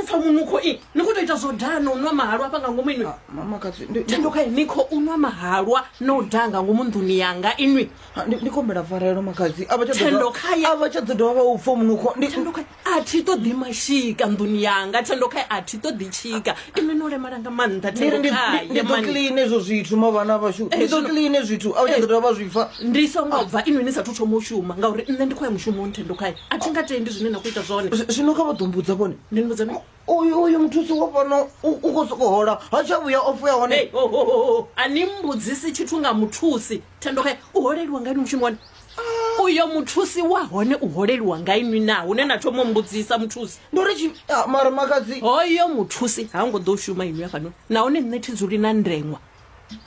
pfa munukho i ni khou tou ita zwo daha na u nwa mahalwa hafha nga ngomu inwi. Mamakadzi ndi- Thendo khae ni khou nwa mahalwa na u daha nga ngomu nḓuni yanga inwi. Ndi khombela pfarelo makhadzi a vha tsha ḓo Thendo dovha- khaye. a vha tsha ḓo dovha vha u pfa munukho ndi Thendo khae a thi ṱoḓi mashika nḓuni yanga. Thendo khae a thi ṱoḓi tshika. Inwi no lemala nga maanḓa ndi ri Thendo ndi khae ndi ḓo mani. clean hezwo zwithu ma vhana vhashu ndi ḓo zwino- clean zwithu a vha tsha ḓo dovha vha zwi pfa. Ndi songo bva inwi ni sathu thoma u shuma ngauri nṋe ndi khou ya mushumoni. Thendo khae a thi nga tendi zwine na khou ita zwone. Zwino kha vha ḓo mbudza vhone. Ndi ni vhudza mini? Uyu muthusi wa fhano u khou sokou hola ha tsha vhuya o fuya hone. Hey, ho, ho, ho, ho. A ni mbudzisi tshithu nga muthusi. Thendo khae u holeliwa nga inwi mushumo wone. Uyo muthusi wa hone u holeliwa nga inwi na hune na thoma u mbudzisa muthusi. Ndi uri mara makhadzi hoyo muthusi ha ngo ḓo shuma inwi hafhanoni, nahone nṋe thi dzuli na ndeṅwa.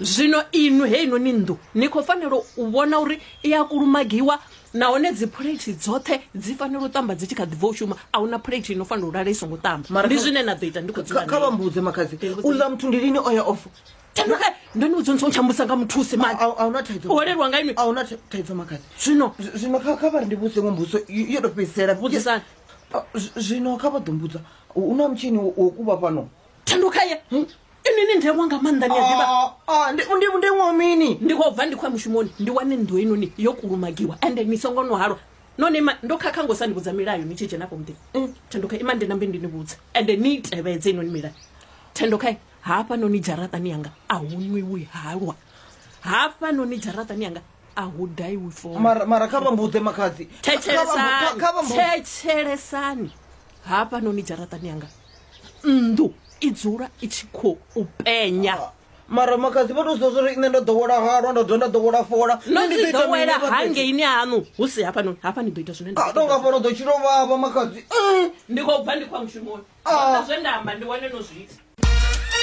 Zwino inwi heinoni nnḓu ni khou fanela u vhona uri i a kulumagiwa, nahone dzi phuleithi dzoṱhe dzi fanela u ṱamba dzi tshi kha ḓi bva u shuma. A huna phuleithi ino fanela u lala i songo ṱamba. Mara Ndi zwine na ḓo ita ndi khou dzula Kha vha nae. mbudze makhadzi, Ndi vhudze. uḽa muthu ndi lini o ya off? Thendo khae ndo ni vhudza ni songo tsha mbudzisa nga muthusi mani. A huna thaidzo. U holeliwa nga inwi. A huna thaidzo makhadzi. Zwino Zwino kha vha ri ndi vhudze iṅwe mbudziso yo tou fhedzisela. Vhudzisani. Zwino kha vha ḓo mbudza, hu na mutshini wo kuvha fhano? Thendo khaye inwi ni ndeṅwa nga maanḓa, ni a ḓivha. Ndi ṅwa mini? Ndi khou bva ndi khou ya mushumoni, ndi wane nnḓu heinoni yo kulumagiwa ende ni songo nwa halwa. None ima, ndo khakha ngo sa ni vhudza milayo ni tshi dzhena afho muḓini. Thendo khae ima ndi nambe ndi ni vhudze ende ni i tevhedze inoni milayo. Thendo khae hafhanoni dzharaṱani yanga a hu nwiwi halwa, hafhanoni dzharaṱani yanga a hu daiwi fola. Mara kha vha mbudze makhadzi. Thetshelesani, Kha vha mbudze. thetshelesani, hafhanoni dzharaṱani yanga nnḓu i dzula i tshi khou u penya. Mara makhadzi vha tou zwa uri nṋe ndo ḓowela halwa, ndo dovha nda ḓowela fola. No Nṋe ndi zwi ḓo ita mini ḓowela hafha fhethu? hangeini haṋu, hu si hafhanoni. Hafha ni ḓo ita zwine nda A khou tonga ṱoḓa. fhano ḓo tshilo vhavha makhadzi. Ndi khou bva ndi khou ya mushumoni. Zwoṱhe zwe nda amba ndi wane no zwi ita.